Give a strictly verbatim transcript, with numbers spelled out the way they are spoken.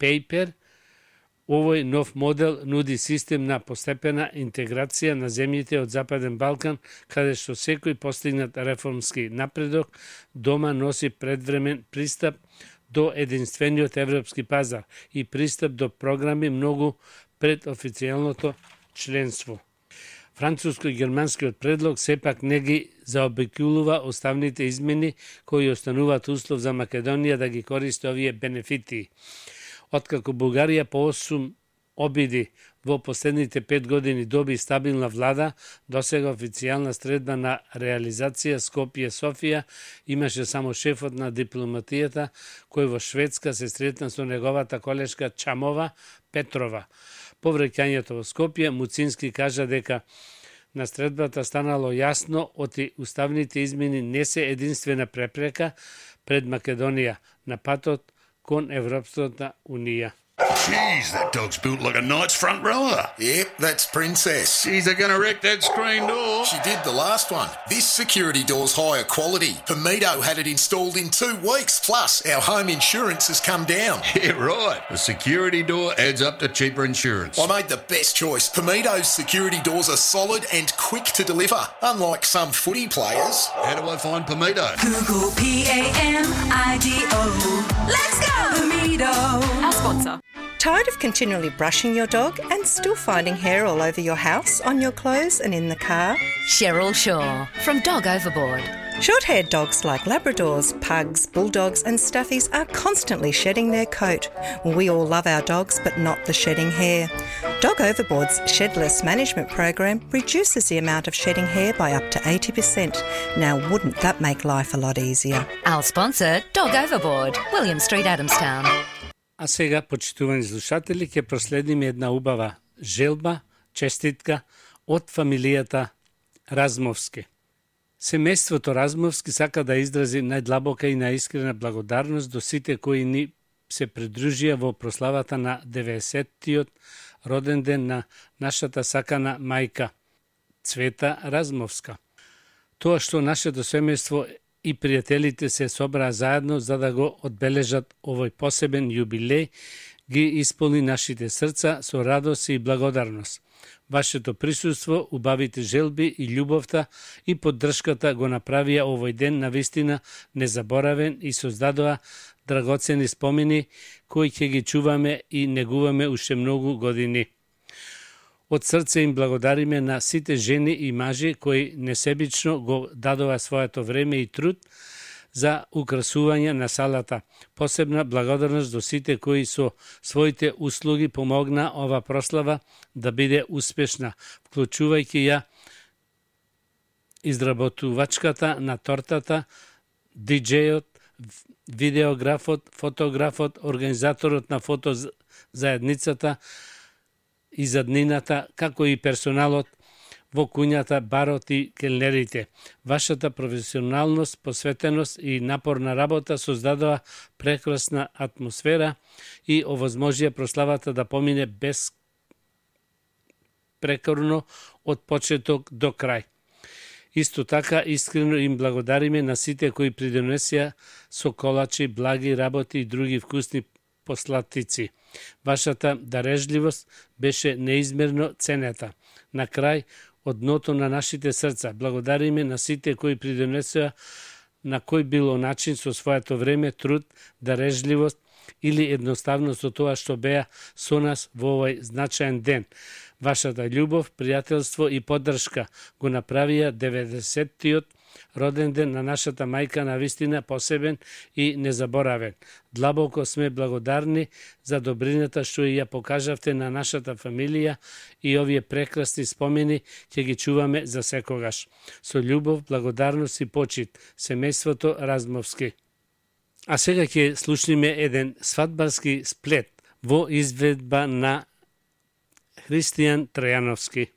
Paper. Овој нов модел нуди систем на постепена интеграција на земјите од Западен Балкан, каде што секој постигнат реформски напредок дома носи предвремен пристап до единствениот европски пазар и пристап до програми многу пред официјалното членство. Француско-германскиот предлог сепак не ги заобиколува оставните измени кои остануваат услов за Македонија да ги користи овие бенефити. Откако Бугарија по осум обиди во последните пет години доби стабилна влада, досега официјална средба на реализација Скопје-Софија имаше само шефот на дипломатијата, кој во Шведска се сретна со неговата колешка Чамова Петрова. По враќањето во Скопје, Муцински кажа дека на средбата станало јасно оти уставните измени не се единствена препрека пред Македонија на патот кон Европската Унија. Jeez, that dog's built like a knight's front rower. Yep, that's Princess. Jeez, they're going to wreck that screen door. She did the last one. This security door's higher quality. Pamido had it installed in two weeks. Plus, our home insurance has come down. Yeah, right. A security door adds up to cheaper insurance. I made the best choice. Pamido's security doors are solid and quick to deliver, unlike some footy players. How do I find Pamido? Google P A M I D O. Let's go, Pamido. Our sponsor. Tired of continually brushing your dog and still finding hair all over your house, on your clothes and in the car? Cheryl Shaw from Dog Overboard. Short-haired dogs like Labradors, Pugs, Bulldogs and Stuffies are constantly shedding their coat. We all love our dogs, but not the shedding hair. Dog Overboard's Shedless Management Program reduces the amount of shedding hair by up to eighty percent. Now, wouldn't that make life a lot easier? Our sponsor, Dog Overboard, William Street, Adamstown. А сега, почитувани слушатели, ќе проследиме една убава желба, честитка од фамилијата Размовски. Семејството Размовски сака да изрази најдлабока и најискрена благодарност до сите кои ни се придружија во прославата на деветдесеттиот роден ден на нашата сакана мајка Цвета Размовска. Тоа што нашето семејство и пријателите се собраа заедно за да го одбележат овој посебен јубилеј, ги исполни нашите срца со радост и благодарност. Вашето присуство, убавите желби и љубовта и поддршката го направија овој ден навистина незаборавен и создадоа драгоцени спомени кои ќе ги чуваме и негуваме уште многу години. Од срце им благодариме на сите жени и мажи кои несебично го дадоа своето време и труд за украсување на салата. Посебна благодарност до сите кои со своите услуги помогна ова прослава да биде успешна, вклучувајќи ја изработувачката на тортата, диџејот, видеографот, фотографот, организаторот на фото заедницата и заднината, како и персоналот во куњата, барот и келнерите. Вашата професионалност, посветеност и напорна работа создадоа прекрасна атмосфера и овозможија прославата да помине без прекорно од почеток до крај. Исто така, искрено им благодариме на сите кои придонесија со колачи, благи работи и други вкусни послатици. Вашата дарежливост беше неизмерно ценета. На крај, од дното на нашите срца, благодариме на сите кои придонесоа на кој било начин со своето време, труд, дарежливост или едноставно со тоа што беа со нас во овој значаен ден. Вашата љубов, пријателство и поддршка го направија деветдесеттиот роден ден на нашата мајка навистина посебен и незаборавен. Длабоко сме благодарни за добрината што ја покажавте на нашата фамилија и овие прекрасни спомени ќе ги чуваме за секогаш. Со љубов, благодарност и почит, семејството Размовски. А сега ќе слушниме еден свадбарски сплет во изведба на Христијан Тројановски.